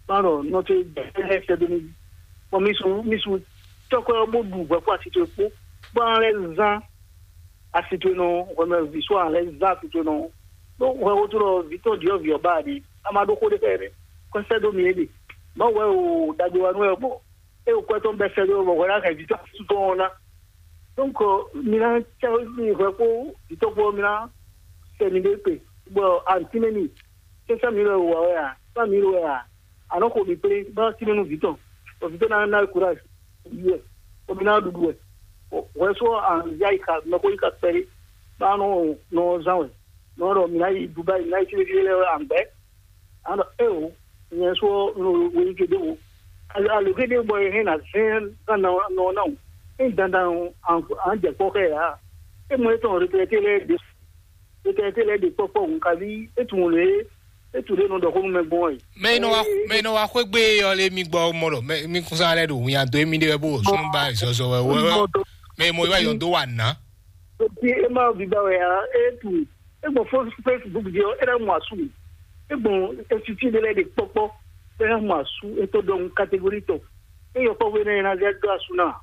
Má ɖɔ nɔ tó jɛ lɛ́ sɛ dó ní. Bɔ mi su mi su tɔ́kɔ́ ɔ́ bó ɖu hwɛ kpó asi towe kpó. Bó an lɛ́ zán asi towe nɔ hwɛ mɛ vǐ sɔ an lɛ́ zán asi towe nɔ. Ɖó hwɛ wótó ɖɔ vǐ tɔn ɖyɔ̌vǐ ɔ́ ba ɖi a ma ɖó xó ɖé xɛ ɖé. Kɔ́ sɛ dó mi é ɖe. Má wɛ o ɖagbe wa nú wɛ bɔ é o kwɛ tɔn bɛ sɛ dó bɔ hwɛ ná hɛn vǐ tɔn sú tɔn ɔ́ ná. Donc, mi ná cɛ mi hwɛ kpó vǐtɔ́ kpó mi ná sɛ mi ɖé kpe, bɔ antínɛ mi sɛsɛ mi lɛ wà wɛ a, sá mi lɛ wɛ a, anɔ xo mi kplé bá tínɛ nú vǐtɔ́, bɔ vǐtɔ́ ná ná courage yi wɛ, bɔ mi ná ɖuɖu wɛ. Hwɛ sɔ anzia yi ka mɛ ko yi ka kpɛɖé bá nɔ nɔ zán wɛ, nɔ ɖɔ mi ná yi Dubayi, mi ná yi tínɛ tínɛ lɛ wɛ àgbɛ. Ano eo nyɛ sɔ no wei ke ɖe wo. Alo ke ɖe bɔ e hɛn na zɛn na na na o. E dandan an an jɛ kpɔ xɛ ya. E mo etɔn retraité lɛ de retraité lɛ de kpɔkpɔ un kavi e tun le e tun le no dɔ ko nu mɛ gbɔn e. Mɛ inɔ wa mɛ inɔ wa xwegbe yɔ le mi gbɔ mɔ lɔ mɛ mi kun sa lɛ do wunya do emi de wɛ bo sunu ba zɔzɔ wɛ wɛ wɛ. Mɛ mo yi wa yɔn do wa na. Oti e ma viva wɛ a e tu e gbɔn fo- Facebook di ɔ e na mu asu mi e gbɔn esiti de lɛ de kpɔkpɔ e na mu asu e to dɔn catégorie tɔ e yɔ kpɔkpɔ e na yɛ na zɛ do asu na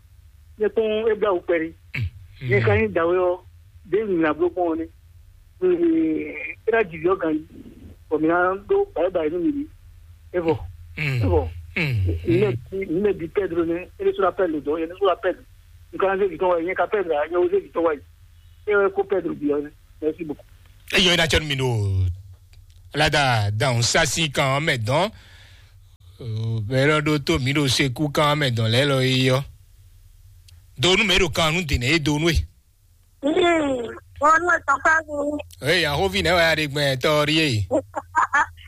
ne kpɔn e bla wukpɛ ni ne ka nyi dawe ɔ de nyina blo kpɔn ne e na didi ɔ gan yi bɔ mi na do bayi bayi nu mi di e bɔ e bɔ ne bi Pedro ne e de so la Pedro dɔn e de so la Pedro nkan se vitɔn wa yi ne ka Pedro a ne o se vitɔn wa yi e ko Pedro bi ɔ ne. Merci beaucoup. Eyɔ ina tsɔnu mi ɖo lada dan sasi kan mɛ dɔn bɛlɛ ɖo to mi ɖo seku kan mɛ dɔn lɛ lɔ yi yɔ donu mɛ ɖo kan nu dene ye donu ye. Wọ́n ní ọ̀tọ̀ fáwọn. Ee ahovi nɛ wa ya de gbɛ tɔri ye.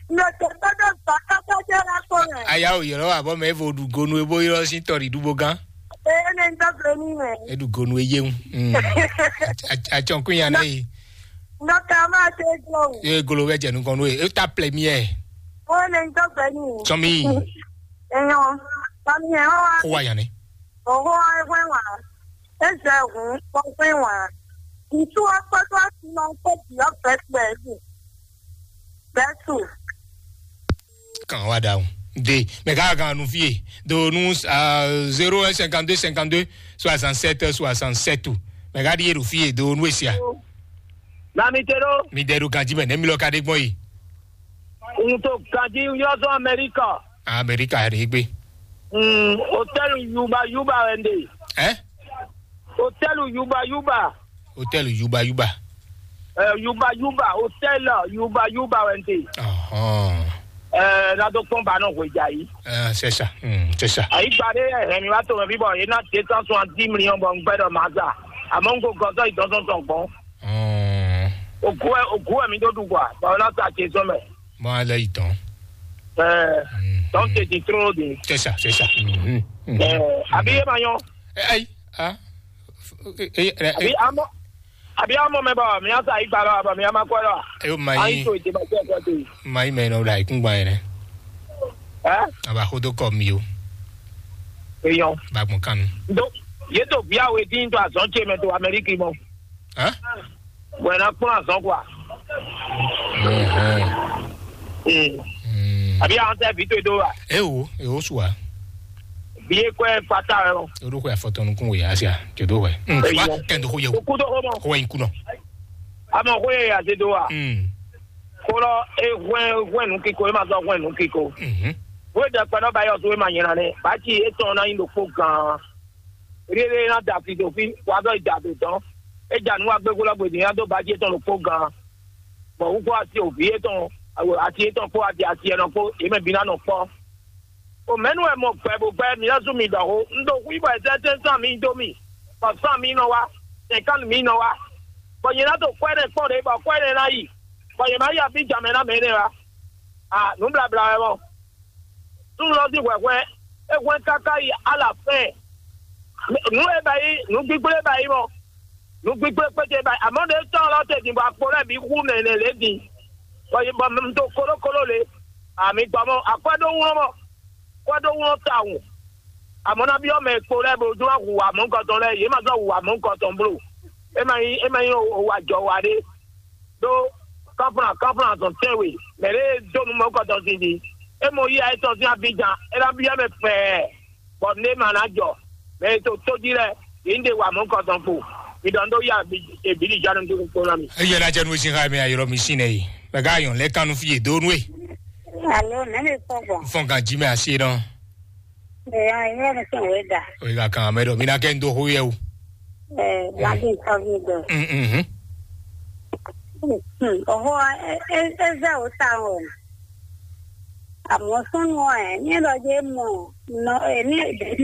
Ní ọ̀tọ̀ gbọ́dọ̀ gbà kápẹ́jẹ́ lápò rẹ̀. Aya o yọrọ wa bɔ mɛ evo ɖu gonu ebo yọrọ si tɔri ɖu bo gan. Ee ní ń dọ́gbẹ́ ní rẹ̀. Eɖu gonu eye ŋu. Atsɔnkun ya nɛ yi. Nɔkà máa ṣe é jọ o. Ee golo bɛ jɛ nukɔn n'o ye. E ta plɛ mi yɛ. Ó ní ń dọ́gbẹ́ ní rẹ̀. Sɔmi. Enyo, bami ɛ wa. Xó wa yan nɛ. Oho ɛ wɛ wa. Ezɛ hun kpɔkpɛ wa. Ŋutsu wa kpɔtɔ asinɔ kpɔ diɔ bɛtɛ ni. Bɛtu. Kan wa da o. De, mɛ ka kan nu fie. Do nu, ah, zéro un cinquante-deux cinquante-deux soixante-sept soixante-sept. Mɛ ka ɖi e ɖo fie do nu esia. Nami te ɖo. Mi ɖe ɖo ganji mɛ nɛ mi lɔ ka ɖe gbɔn yi. N to ganji yɔ zɔn Amɛrika. Amɛrika ɖe gbe. Mm, hôtel Yuba Yuba wɛ n ɖe. Ɛ? Hôtel Yuba Yuba. Hôtel Yuba Yuba. Ɛ, Yuba Yuba, hôtel Yuba Yuba wɛ n ɖe. Ɔhɔn. Ɛ, na do kpɔn ba nɔ hwe ja yi. Ɛ, c'est ça. Mm, c'est ça. Ayi gba ɖe hɛn mi wá to mɛ fi bɔ yé ná deux cent soixante-dix millions bɔ n gbɛ ɖɔ ma za. Àmọ́ n ko gɔzɔ yi dɔn sɔn sɔn gbɔn. Mm. Ògú ɛ ògú ɛ mi ɖó ɖu gba bɔ ná sa ce sɔn mɛ. Mɔ alɛ yi tɔn. Ɛ, Mm, tɔn mm. Tete tró de. C'est ça, c'est ça. Mm, mm, mm. Ɛ, àbí yé ma nyɔ. Ɛ, ayi, ah. Ɛ, ɛ, ɛ, Àbí amɔ àbí amɔ mɛ bɔ mi á sa yi gba lɔ bɔ mi á ma kɔ lɔ. Ɛ, o ma Ayi yi. To ìdè ma tẹ kɔ te. Ma yi mɛ nɔ la ikun gba yẹn. Ɛ, Aba xodo kɔ mi o. Eyɔn. Ba gbɔn kanu. Do yé to bia we dín to azɔn ce mɛ to Amɛriki mɔ. Hã? Bɔ ɛ ná kplɔ́n azɔn kɔ. Ɛhɛn. Ee. Mm. Àbí àwọn tẹ́ fi tó do wa. Ewo, ewo su wa. Bí e kọ́ ẹ fata ẹ lọ. Orúkọ àfọ̀tọ́nukún wòye àṣà jòdó wẹ̀. Eyɔ. Wa kẹ́ndó kó yẹ wò. Kókó tó kó mọ. Kó wẹ̀ ń kú nọ. Àmọ́ kó yẹ yàtí do wa. Mm. Kó lọ e hwẹ́ hwẹ́ nù kíkó e ma sọ hwẹ́ nù kíkó. Mhm. Wé dẹ kpɛnɔ ba yɔ so e ma nyina ne. Bàtí e tɔn na yin ɖokpó gan. Rere na da fi do fi wa dɔ da do dɔn. E ja nu wa gbegbo lɔ gbedi ya do bàtí e tɔn ɖokpó gan. Bɔ wú kó asi òbí e tɔn asi e tɔn kpó adi asi ɛnɔ kpó e mɛ bi na nɔ kpɔ. O mɛnu wɛ mɔ gbɛ bo gbɛ mi na zu mi dɔho. Un do hu bɔ ɛsɛ tɛ san mi do mi. Bɔ san mi nɔ wa. Tɛ kan mi nɔ wa. Bɔ nyɛ na do kwɛ ne kpɔ de bɔ kwɛ ne na yi. Bɔ nyɛ ma yi abi jamɛ na mɛ ne wa. A nu blabla wɛ mɔ. Súnnu ɔ́ sín hwɛhwɛ é hwɛ́n káká yi alafɛ́n. Nǔ e ba yi, nǔ gbígbó e ba yi mɔ, nǔ gbígbó e kpéte ba yi. Amɔ̌ ɖě tɔn lɔ te din bɔ akpo lɛ́ɛ bǐ xú nɛnɛ lě din, bɔ yi bɔ un dó kolókoló lě. Ami gbɔ mɔ akwɛ́ ɖó wlɔ́n mɔ, kwɛ́ ɖó wlɔ́n tawun. Amɔ̌ ná byɔ́ mɛ e kpo lɛ́ɛ bó jló ná hu amɔ̌ nukɔntɔn lɛ́ɛ, yě ma zɔ́ hu amɔ̌ nukɔntɔn bló. É ma nyí é ma nyí wa jɔ wa ɖé. Ɖó kɔ́nflán kɔ́nflán azɔn tɛ́nwe mɛ ɖé e dó nú mɔ̌kɔtɔn sin din. É mɔ yíyá étɔn sín afijan, é ná byɔ́ mɛ fɛɛ, bɔ nú é ma ná jɔ. Mɛ e to tójí lɛ́ɛ, yě ní ɖe wa mɔ̌kɔtɔn kpo. Mi ɖɔ un ɖó yá èbíɖijánu dúró kpó ná mi. Eyɛ ná jɛ nú sin xa mɛ ayɔrɔ mi sin nɛ yi. Mɛ ká yɔn lɛ kanu fi yé dó nú e. Alo, nɛ́ mi fɔ gbɔn? Fɔn kan jí mɛ asi nɔ. Ɛ, ya, ya, ya, ya, ya. O yi ka kan mɛ ɖɔ mi ná kɛ n dó xó yɛ o. Ɛ, wá bí nǹkan mi gbẹ. Mm, mm, mm. Hmm, ọ̀hó, ẹ, ẹ, ẹ zẹ́ ò ta o. Àmọ́ súnú ẹ̀, ní lọ jẹ́ mọ̀, nọ, ẹ̀, ní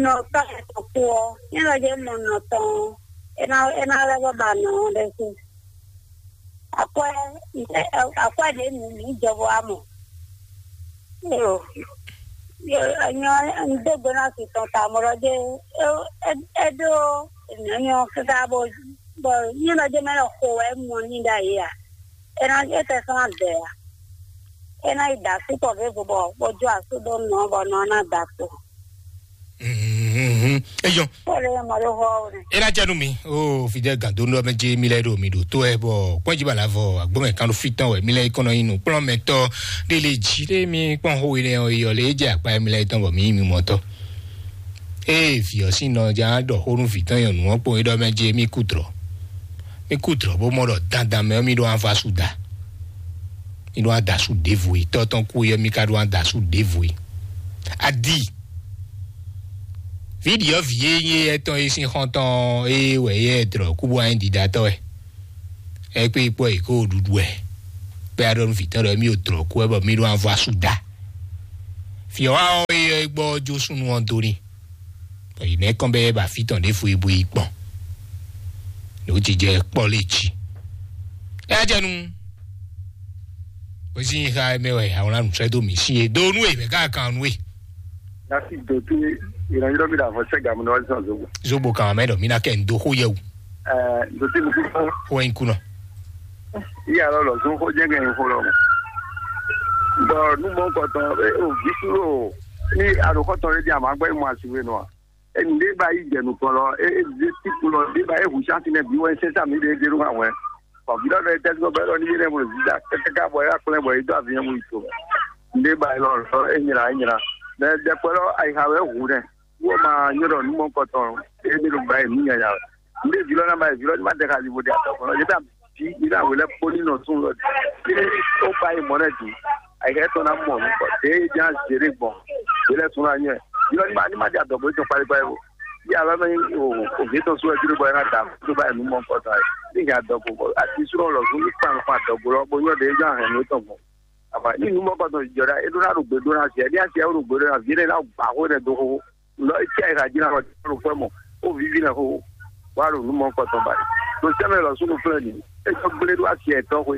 nọ tọ́ ẹ̀ tó kú ọ, ní lọ jẹ́ mọ̀ nọ tán, ẹ ná, ẹ ná lọ bá ba nọ ọ́ lẹ́sìn. Akwɛ, akwɛ ɖě nu mǐ jɔ bɔ wá mɔ. Yo, yo, nyɔ, un dó gbe ná si tɔn ta mɔ ɖɔ jɛ, é, é, é ɖó nyɔ̌nyɔ́ káká bɔ, bɔ nyí ɖɔ jɛ mɛ lɔ xo wɛ mɔ ní ɖ'ayǐ a? É ná é tɛ sɔ́ ná dɛ a? É ná yi da asú tɔn ɖěvo bɔ bó jó asú ɖó nɔ bɔ nɔ ná da kpo. Mhm. Eyɔn. Ele mɔ ɖo hɔ o ne. E na jɛ nu mi o fidɛ gando nɔ mɛ je mi lɛ ɖo mi ɖo to ɛ bɔ kpɔnji bala vɔ agbɔmɛ kan ɖo fi tɔn wɛ mi lɛ kɔnɔ yin nu kplɔn mɛ tɔ de le ji de mi kpɔn ho ene o yɔ le jɛ akpa mi lɛ tɔn bɔ mi mi mɔ tɔ. Ee fi ɔ si nɔ ja ɖɔ ho nu fi tɔn yɔ nu ɔ kpɔn yi ɖɔ mɛ je mi ku drɔ mi ku drɔ bo mɔ ɖɔ dandan mɛ mi ɖo anfa su da mi ɖo adasu ɖevo yi tɔ tɔn ku yɔ mi ka ɖo adasu ɖevo yi. Adi. Viɖi ɔ́ vǐ e nyí éyɛ́ tɔn é sín xɔ́ntɔn é wɛ yɛ dlɔ̌ kú bó wá nyí ɖiɖatɔ́ wɛ. É kpé kpɔ́ è kó ɖuɖu wɛ. Bɛ́ a ɖɔ nú vǐ tɔn ɖɔ émí ɖo dlɔ̌ kú wɛ bɔ mí ɖó avɔ asú da. Vǐ ɔ́ wá ɔ́ é ɔ́ é gbɔ ɔ́ jó súnnu ɔ́ dó n'i. Bɔ yě nɛ́ kɔn bɛ́ bɔ afí tɔn ɖěvo é bó yi gbɔn. Nǔ jijɛ kpɔ́ lé jí. É wá jɛ nu. Bó sí nyi xá mɛ wɛ awlán nǔ sɛ́ dó mǐ sí e dó nú e mɛ ká kan nú e. Dasi dòtí ìrànlọ́wọ́ mi là fọ́ sẹ́gà mi lọ́wọ́ sísan zogbo. Zogbo kan mɛ ɖɔ mi na kɛ n do xó yɛ wu. Ɛɛ dòtí mi kú fún. Xó ɛ ń kú nɔ. Iya lɔ lɔ zun xó jẹ́ kẹ́ ń xó lɔ mọ́. Bɔn nú mɔ kɔtɔn o bí súrò. Ní aɖǒxɔtɔn ɖé ɖi amǎgbɛ́ mɔ asiwé nɔ a? Enu ɖé ba yi jɛ nukɔn lɔ, e e ɖe tíku lɔ ɖé ba e hu santi nɛ bi wɛ sɛn sa mi ɖe ɖe nú awɛ. Bɔn vi lɔ ɖe tɛ́sí bɔ lɔ ní yé nɛ mo zida kɛkɛka bɔ ya kplɛ bɔ yi dó avi mu yi to. Nɖé ba lɔ lɔ e nyra e nyra. Mɛ ɖɛkpɛ lɔ ayiha wɛ hu nɛ. Wɔ ma nyɔ ɖɔ nú mɔ kɔtɔn e ɖe ɖo ba yi nú nyanya. Nɖé vi lɔ na ba yi vi lɔ ní ma ɖe ka li bo ɖe atɔ kɔnɔ. Yé ta bi yi na wele kpó ní nɔ tún lɔ. Yé ó ba yi mɔ nɛ du. Ayiha tɔn na mɔ nukɔ. Ɖe é nya zéré gbɔn. Yé lɛ tún na nyɛ. Vi lɔ ní ma ní ma ɖe adɔgbó tɔn kpali kpali. Bí alɔ mɛ o o vi tɔn sɔ́ ɛ dúró bɔ ɛ ná da tó bá ɛ nú mɔ kɔtɔ ɛ ní nya dɔgbo bɔ ati sɔ́ lɔ fún ní kpan kpan dɔgbo lɔ bó nyɔ ɖe jɔ ahɛn nú tɔn gbɔn. Àbá ní nú mɔ kɔtɔ jɔ ɖa é ɖó ná ɖo gbé ɖó ná zɛ ní asi ɛ ɖo gbé ɖó ná vi ɖé ná gbà xó ɖɛ dó xó lɔ é tí ɛ ká jí ná lɔ dó xó mɔ ó viví ná xó wá ɖo nú mɔ kɔtɔ ba ɖo sɛmɛ lɔ sún flɛ ní é jɔ gblé ɖó asi ɛ tɔn xó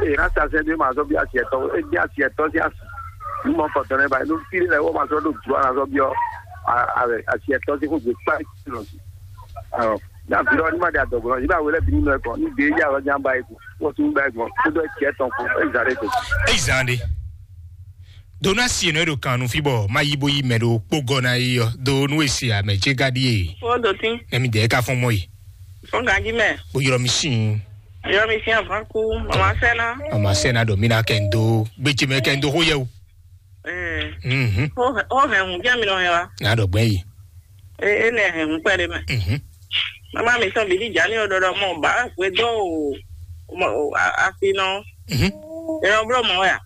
é ná sa sɛ ní ma zɔ bí asi ɛ tɔn xó é ní asi ɛ tɔn sí asi nú mɔ kɔtɔ nɛ ba nú fi lɛ wɔ ma zɔ ɖo dua na zɔ bí ɔ a a asi ɛ tɔn sí xó gbé kpá lɔ sí. Ɔ, ní afi lɔ ní ma ɖe adɔgbɔn lɔ, ní bá wele bí nínú ẹ kɔ, ní gbé yá lɔ ní aba ẹ kú, wọ́n tún bá ẹ gbọ́n, kó dɔ ẹ tiẹ̀ tɔn kú, ẹ zà lẹ tó. Eyi zan ɖe. Dona si nɔ ɖo kan nu fi bɔ ma yi bo yi mɛ ɖo kpó gɔ na yi ɔ do nu esi amɛ dze ga ɖi e. Wo do tin. Nɛmi dɛ ka fɔn mɔ yi. Fɔn ganji mɛ. Bo yɔrɔ mi sin. Yɔrɔ mi sin avan ku. Mama sɛna. Mama sɛna dɔ mi na kɛ n do gbetse mɛ kɛ n do xo yɛ o. Ɛɛ. Mhm. Wo hɛn wo hɛn hun jɛ mi nɔ hɛn wa. Na dɔ gbɛ yi. E e nɛ hɛn hun kpɛ de mɛ. Mhm. Mama mi sɔn bidi jani o dɔdɔ mɔ ba hwe dɔ o o afi nɔ. Mhm. Yɔrɔ blɔ mɔ ya.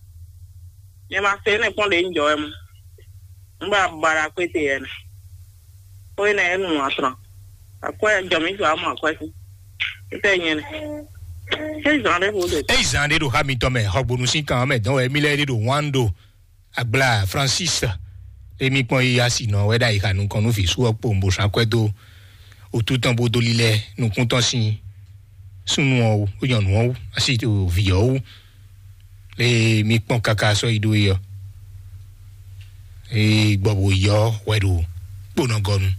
Nyɛ ma se ne kpɔn de n jɔ wɛ mu. N ba bara kpete yɛ nɛ. Ko yi nɛ enu atran. Akwɛ jɔ mi jɔ amɔ akwɛ si. Tɛ nyɛ nɛ. Se zan de ko de. Eyi zan ɖe ɖo xa mitɔn mɛ xɔgbonu sín kan mɛ dɔn wɛ mi lɛ ɖe ɖo wan ɖo agbla Francis. Emi kpɔn yi asi nɔ wɛ ɖe ayi xa nukɔn nú vǐ sú ɔ kpo bó sán akwɛ dó otú tɔn bó dó lílɛ nukún tɔn sín súnnu ɔ́ wú, nyɔ̌nu ɔ́ wú, asi vǐ ɔ́ wú. Ée mi kpɔn káká sɔ́ yi ɖó é ɔ́, é gbɔ bó yi ɔ́ wɛ ɖo kponɔgɔnu,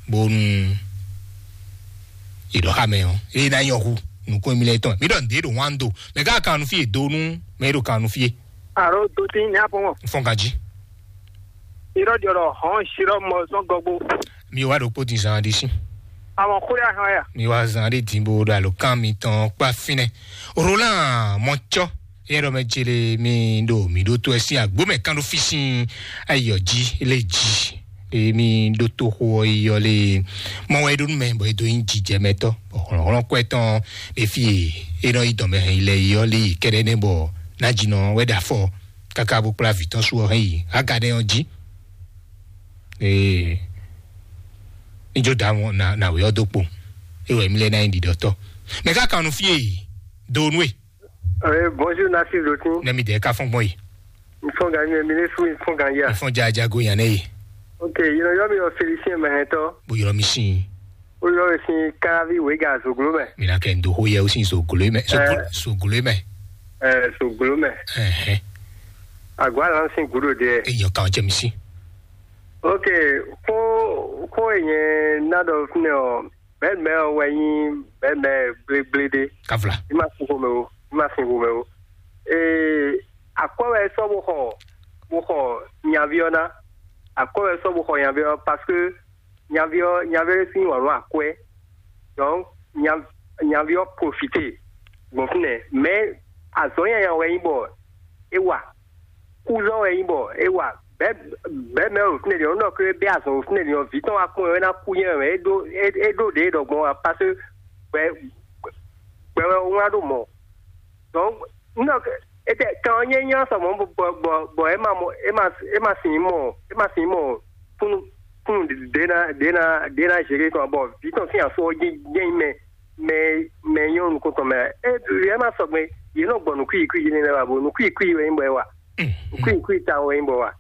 bónú è ɖɔ xá mɛ ɔ́, é ná nyɔ hu nukún émí lɛ́ɛ tɔn. Mi ɖɔ nǔɖé ɖo wán do, mɛ ká kan nu fí e do nú mɛ e ɖo kan nu fí e. Alo, do tín ní apɔ́n mɔ. Fɔn ka jí. Irọ́ jɔ ɖɔ hɔn sirɔ mɔ sɔn gɔgbo. Mi wá ɖokpó din zan ɖé sí. Àwọn kúrẹ́ ahọ́n yà. Mi wá zan ɖé dín bó ɖo àlòkán mi tɔn kpá fínɛ́. Roland Mɔtsɔ, yɛ ɖɔ mɛ jele mi ɖo mi ɖó tó ɛ sín àgbó mɛ kán ɖó fí sín ayɔ jí lé jí. Emi ɖó tó xó ɔ yi yɔ lé mɔ wɛ ɖó nú mɛ bɔ e dó nyí jijɛ mɛ tɔ́. Bɔ hlɔ̌nhlɔ́n kɔ ɛtɔn ɖé fí e é nɔ yi dɔn mɛ hɛn yi lɛ yi ɔ́ lé yi kɛɖɛ́ nɛ́ bɔ ná jí nɔ wɛ ɖo afɔ káká bó kplá vǐ tɔn sú ɔ́ hɛn yi agadɛ ɔ́ jí. Ee, níjó dá wọn na na wě ɔ́ dó kpo. É wɛ mí lɛ́ ná nyí ɖiɖɔtɔ́. Mɛ ká kan nú fí e do nú e. Ee, bonjour, Nasir Dotin. Nɛ mi dɛ ká fɔn gbɔn yi. N fɔn gan mi mi ne su n fɔn gan ya. N fɔn jaja go yan ne yi. Ok, you know, yɔ mi o Félicien Mɛhɛntɔ. Bo yɔrɔ mi sin. O yɔ mi sin Karavi Wega Zoglo mɛ. Mi na kɛ n do ho yɛ o sin Zoglo mɛ. Zoglo mɛ. Ɛɛ, Zoglo mɛ. Ɛhɛn. Agwa lan sin gudo de. E yɔ kan jɛ mi si. Ok, ko ko e nyɛ na dɔ fúnɛ ɔ, bɛɛ mɛ ɔ wɛ nyi bɛɛ mɛ gblégblé ɖé. Kavla. I ma sin xomɛ o, i ma sin xomɛ o. Ee, akwɛ wɛ sɔ bo xɔ bo xɔ nyavi ɔ na. Akwɛ wɛ sɔ bo xɔ nyavi ɔ parce que nyavi ɔ nyavi ɔ sin wà lɔ akwɛ. Donc nya nyavi ɔ profité gbɔn fúnɛ. Mais azɔn yanya wɛ nyi bɔ e wa. Kúzɔ wɛ nyi bɔ e wa. Bɛɛ bɛɛ mɛ o fúnɛ ɖi ɔnɔ ke bɛ azɔn o fúnɛ ɖi ɔ vi tɔn wa kún ɛ na kú nyɛ mɛ e ɖo e ɖo ɖe ɖɔ gbɔn wa parce que gbɛ gbɛ wɛ o wá ɖo mɔ. Donc n ɖɔ etɛ kan ɔ́ nyɛ nyɛ sɔ mɔ bɔ bɔ bɔ e ma mɔ e ma e ma sin mɔ e ma sin mɔ kúnnu kúnnu ɖe na ɖe na ɖe na zere tɔn bɔ vi tɔn sín afɔ ɔ́ jɛ jɛ mɛ mɛ mɛ nyɔnu nukɔntɔn mɛ e e ma sɔgbe yě nɔ gbɔ nukúyi kúyi yé nɛnɛ wa bo nukúyi kúyi wɛ nyí bɔ é wa nukúyi kúyi ta wɛ nyí bɔ wa.